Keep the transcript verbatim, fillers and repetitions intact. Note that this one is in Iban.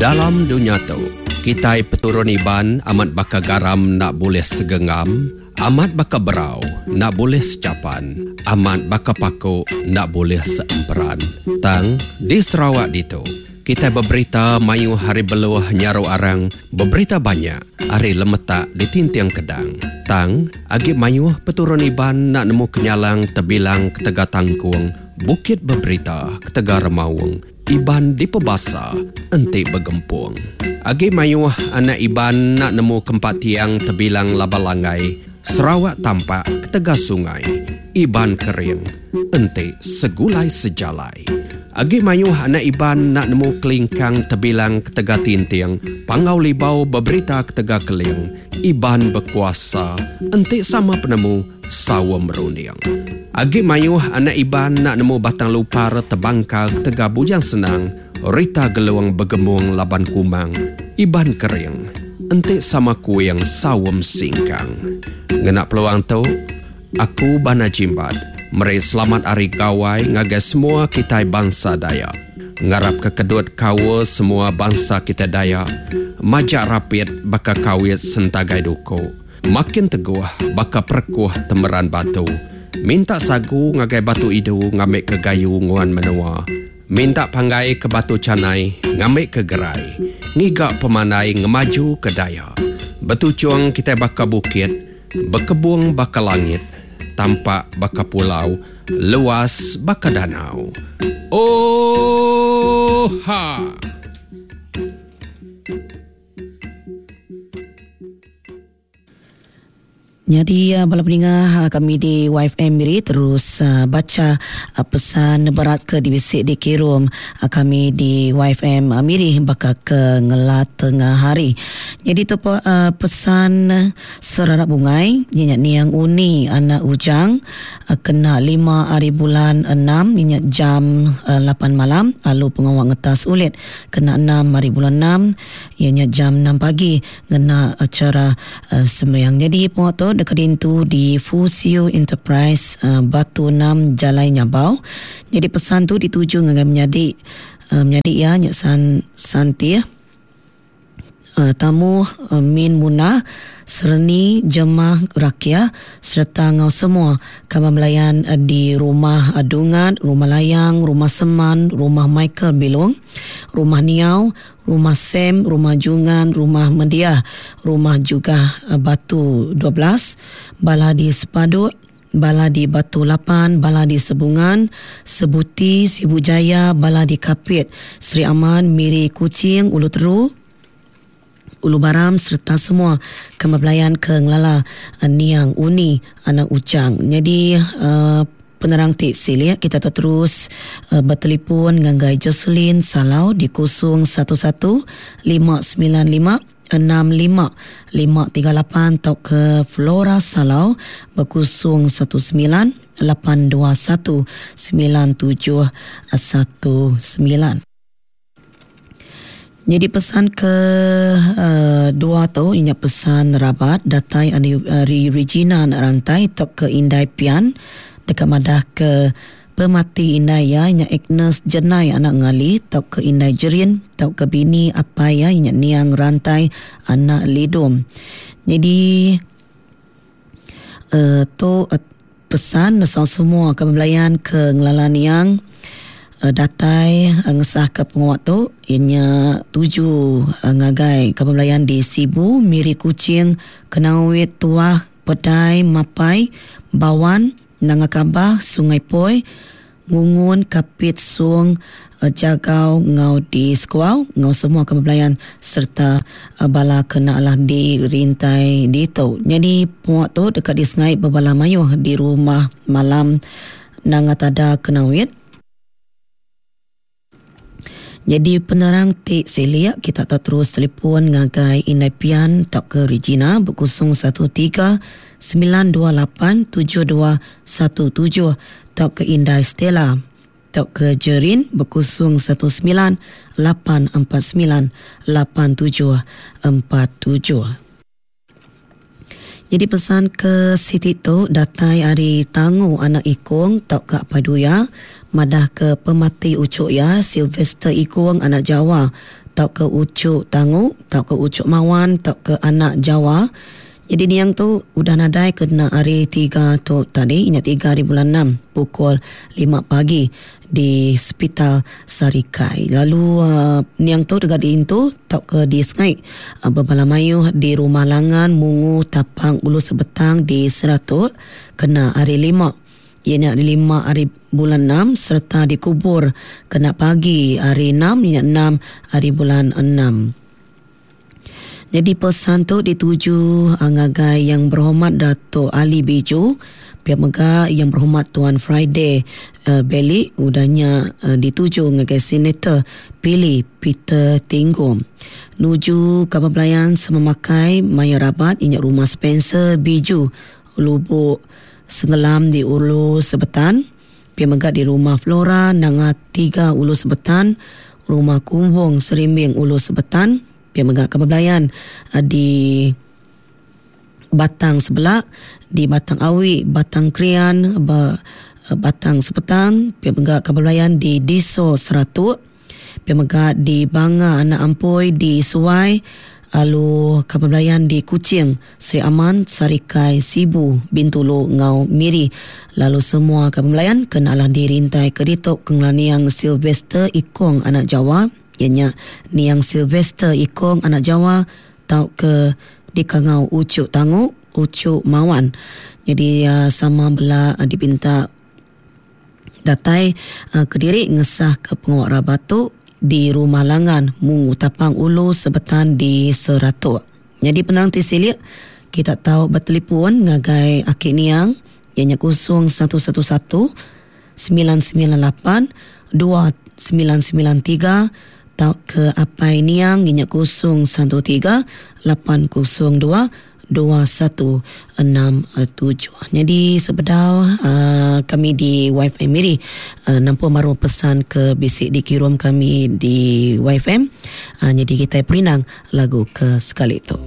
Dalam dunya tu, kitai peturun Iban amat baka garam enda bulih segenggam, amat baka berau enda bulih sechapan, amat baka paku enda bulih seemperan. Tang, di Sarawak ditu, kitai beberita mayuh ari beluh nyaru arang, beberita banyak ari lemetak di Tinting Kedang. Tang, agi mayuh peturun Iban enda nemu kenyalang tebilang ketegal tangkung, bukit beberita ketegal remaung, Iban dipebasa enti begempung. Agi mayuh anak Iban enda nemu kempat tiang tebilang laban langgai, Sarawak tampak ketegal sungai, Iban kering enti segulai sejalai. Agi mayuh anak Iban enda nemu kelingkang tebilang ketegal tinting, Panggau Libau beberita ketegal keling, Iban bekuasa enti sama penemu saum runding. Agi mayuh anak Iban enda nemu Batang Lupar tebangkar ketegal Bujang Senang, Rita Gelung begemung laban Kumang, Iban kering enti sama kuing saum singkang. Ngena peluang tu, aku Bana Jimbat meri selamat Hari Gawai ngagai semua kitai bansa Dayak. Ngarap ke kedut kaul semua bansa kitai Dayak majak rapit baka kawit sentagai duku, makin teguh baka perekuh temeran batu. Minta sagu ngagai batu idu ngambi ke gayu nguan menua. Minta panggai ke batu canai ngambi ke gerai. Ngiga pemandai ngemaju ke daya. Betuchung kitai baka bukit, bekebung baka langit, tampak baka pulau, luas baka danau. Oh ha! Nyadi bala peninga kami di Y F M Miri terus baca pesan berat ke dibisi dikirum kami di Y F M Miri baka ke ngelat tengah hari. Jadi tu pesan serarak bungai nyenyak niang uni anak ujang kena lima hari bulan enam nyenyak jam lapan malam lalu pengawak ngetas ulit kena enam hari bulan enam ianya jam enam pagi ngena acara uh, sembahyang. Jadi pengawak tu dekat dintu di Fusio Enterprise uh, Batu enam Jalai Nyabau. Jadi pesan tu dituju ngagai menyadi uh, menyadi ya nyak san Santi uh, tamu uh, Min Munah Sereni Jemah Rakia serta ngau semua kaban belayan uh, di rumah Dungan, rumah Layang, rumah Seman, rumah Michael Bilung, rumah Niau, rumah Sam, rumah Jungan, rumah Mendiah, rumah juga Batu dua belas, bala di Sepaduk, bala di Batu lapan, bala di Sebungan, Sebuti, Sibu Jaya, bala di Kapit, Sri Aman, Miri, Kuching, Ulu Teru, Ulu Baram serta semua kami belayan ke ngelala Niang Uni anak Ujang. Jadi uh, penerang ti silik kita terus uh, bertelefon ngagai Jocelyn Salau di kosong satu satu lima sembilan lima enam lima lima tiga lapan atau ke Flora Salau berkosong satu sembilan lapan dua satu sembilan tujuh satu sembilan. Jadi pesan ke uh, dua tu inya pesan rabat datai ari Regina nak rantai atau ke Indai Pian dekat madah ke pemati Indai ya inya Agnes Jenai anak ngali atau ke Indai Jerin atau ke bini apai ya inya Niang Rantai anak Lidom. Jadi uh, tu uh, pesan nesau semua ke belayan ke ngelala Niang datai ngesah ke penguat tu ianya tuju ngagai kaban belayan di Sibu, Miri, Kuching, Kenawit, Tuah, Pedai, Mapai, Bawan, Nanga Kabah, Sungai Poi, Ngungun, Kapit, Sung, Jagau, Ngau di Sekuau, ngau semua kaban belayan serta bala kena lah di rintai ditu. Jadi penguat tu dekat di Sengai berbala mayuh di rumah malam Nanga Tada Kenawit. Jadi penerang ti seliak kita tak terus telefon ngagai Indai Pian tak ke Regina berkosong satu tiga sembilan dua lapan tujuh dua satu tujuh tak ke Indai Stella tak ke Jerin berkosong satu sembilan lapan empat sembilan lapan tujuh empat tujuh. Jadi pesan ke Siti tu datai ari Tangu anak Ikung tak ke Paduya madah ke pemati ucuk ya Sylvester Ikung anak Jawa tauka Ucuk Tangu tauka Ucuk Mawan tauka Anak Jawa. Jadi niang tu udah nadai kena hari tiga tu tadi, ingat tiga hari bulan enam pukul lima pagi di Sepital Sarikai. Lalu uh, niang tu dekat diintu tauka di Sengai uh, bebala mayuh di Rumah Langan Mungu Tapang Ulu Sebetang di Seratuk kena hari lima. Ianya hari lima hari bulan enam serta dikubur kena pagi hari enam, ianya enam hari bulan enam. Jadi pesan tu dituju ngagai Yang Berhormat Dato' Ali Biju, pihak mega Yang Berhormat Tuan Friday uh, Beli, udahnya uh, dituju ngagai Senator Pili Peter Tinggom. Nuju kabar belayan sememakai Maya Rabat inyak rumah Spencer Biju Lubuk Senggelam di Ulu Sebetan, pihak mega di rumah Flora Nanga tiga Ulu Sebetan, rumah Kumbong Serimbing Ulu Sebetan, pihak mega kabar belayan di Batang Sebelah, di Batang Awi, Batang Krian, Batang Sepetang, pihak mega kabar belayan di Diso Seratuk, pihak mega di Banga Anak Ampoi di Suai, lalu kabar belayan di Kuching, Sri Aman, Sarikai, Sibu, Bintulu, Ngau, Miri. Lalu semua kabar belayan kenalah dirintai keditok kengelaniang Sylvester Ikong Anak Jawa, ianya niang Sylvester Ikong Anak Jawa tau ke dikangau Ucuk Tangu, Ucuk Mawan. Jadi uh, sama bela uh, dipinta datai uh, kediri ngesah ke penguat rabatu di Rumah Langan Mungu Tapang Ulu Sebetan di Seratuk. Jadi penerang tisilik kita tahu bertelefon ngagai akik niang ianya kosong satu satu satu sembilan sembilan lapan dua sembilan sembilan tiga tau ke apai niang ianya kosong satu tiga lapan kosong dua dua satu enam tujuh. Jadi sebedau uh, kami di Y F M ini uh, nampak baru pesan ke bisik dikirim kami di Y F M. Uh, jadi kita perinang lagu ke sekali tu.